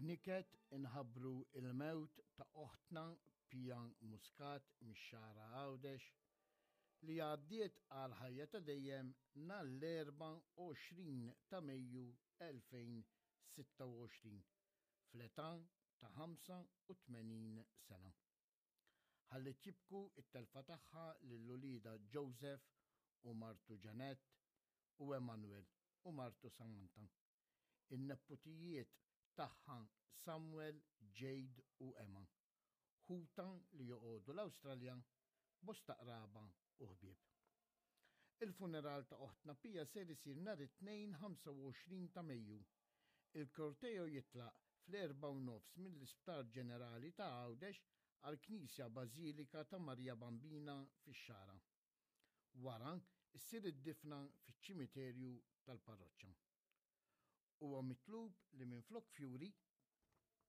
B'niket inħabbru il-mewt ta' oħtna Pia Muscat mix-Xagħra Għawdex li għaddiet għal ħajja ta' dejjem nhar l-24 ta' Mejju 2026 fl-età ta' 85 sena. Ħalliet jibku t-telfa tagħha lil uliedha Joseph u martu Jeanette u Emmanuel u martu Samantha. In-neputijiet tagħha Samuel, Jade u Emma. Ħutha li joqogħdu l-Awstralja, bosta qraba u ħbieb. Il-funeral ta' oħtna Pia ser isir nhar it-Tnejn 25 ta' Mejju. Il-korteo jitlaq fl-4:30 mill-Isptar Ġenerali ta' Għawdex għall-Knisja Bażilika ta' Marija Bambina fix-Xagħra. Wara ssir id-difna fiċ-ċimiterju tal-parroċċa. Huwa mitlub li minflok fjuri.